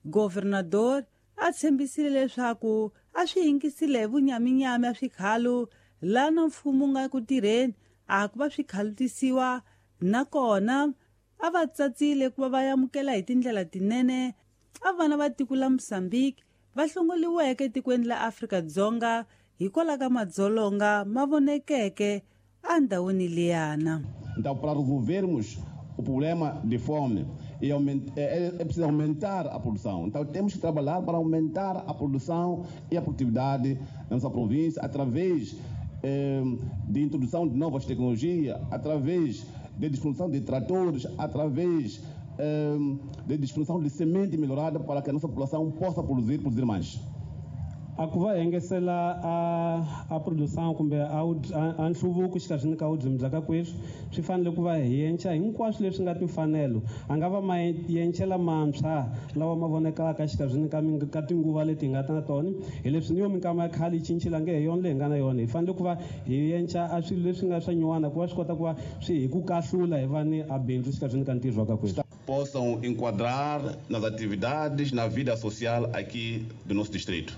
Governador a tshembisile leswaku a swi yingisile hi vunyaminyami a swikhalo lana mfumo wu nga ku tirheni a ku va swi khalutisiwa nakona a va tsatsile ku va va amukela hi tindlela tinene a vana va tiko la Mozambique va hlongoliweke etikweni la Afrika-Dzonga hikwalaho ka madzolonga ma vonekeke endhawini liyana. Então, para resolvermos o problema de fome, é preciso aumentar a produção. Então, temos que trabalhar para aumentar a produção e a produtividade na nossa província através de introdução de novas tecnologias, através de distribuição de tratores, através de distribuição de semente melhorada para que a nossa população possa produzir, produzir mais. A ku va engesela a produção kumbe a nhluvuko xikarhini ka vurimi bya ka kweswi swi fanele ku va hi yenca hinkwaswo leswi nga timfanelo a nga va ma yencela mantshwa lawa ma vonekaka xikarhini ka tinguva leti hi nga ta na tona hi leswi ni yo minkama ya khale yi cincile nge hi yona leyi hi nga na yona hi fanele ku va hi yenca a swilo leswi nga swa nyuwana ku va swi kota ku va swi hi ku kahlula hi va ni a bindzu xikarhini ka ntirho wa ka kweswi. Possam enquadrar nas atividades, na vida social aqui do nosso distrito.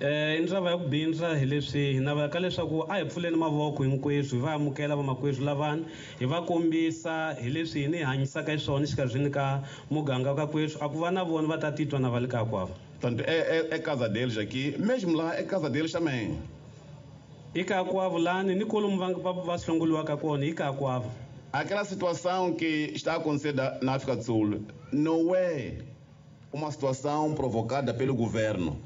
I ndzava ya ku bindza hi leswi hi navelaka leswaku a hi pfuleni mavoko hinkweswo hi va amukela vamakwerhu lavani hi va kombisa hi leswi hi ni hanyisaka xiswona xikarhini ka muganga ka kweswi a ku va na vona va ta titwa na va le kaya kwavo. Portanto, é casa deles aqui, mesmo lá é casa deles também. I kaya kwavo lani ni kolomu va hlongoliwaka kona i kaya kwavo. Aquela situação que está a acontecer na África do Sul não é uma situação provocada pelo governo.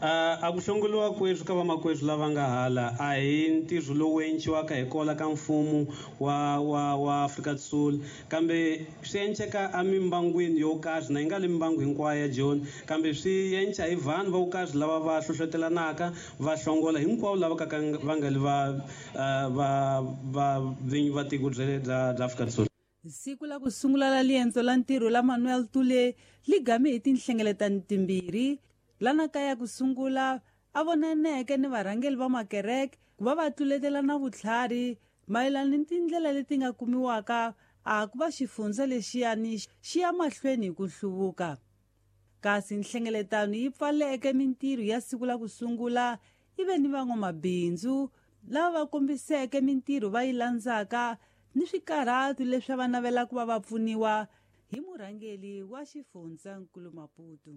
A ku hlongoliwa kweswi ka vamakwerhu lava nga hala a hi ntirho lowu enciwaka hi kola ka mfumo wa Afrika do Sul kambe swi enceka emimbangwini yo karhi na yi nga le mimbangu hinkwayo ya Joni kambe swi enca hi vanhu va ku karhi lava va hlohlotelanaka va hlongola hinkwavo lava ka va nga le va vinyi va tiko bya Afrika do Sul. Siku la ku sungula la liendzo la ntirho la Manuel Tule li game hi tinhlengeletano timbirhi lana kaya ku sungula a vonaneke ni varhangeli va makereke ku va va tluletelana vutlhari mayelana ni tindlela leti nga kumiwaka a ku va xifundza lexiyani xi ya mahlweni hi ku hluvuka. Kasi nhlengeletano yi pfaleke mintirho ya siku la ku sungula yi ve ni van'wamabindzu lava va kombiseke mintirho va yi landzaka ni swikarhatu leswi va navelaka ku va va pfuniwa hi murhangeli wa xifundzankulu Maputo.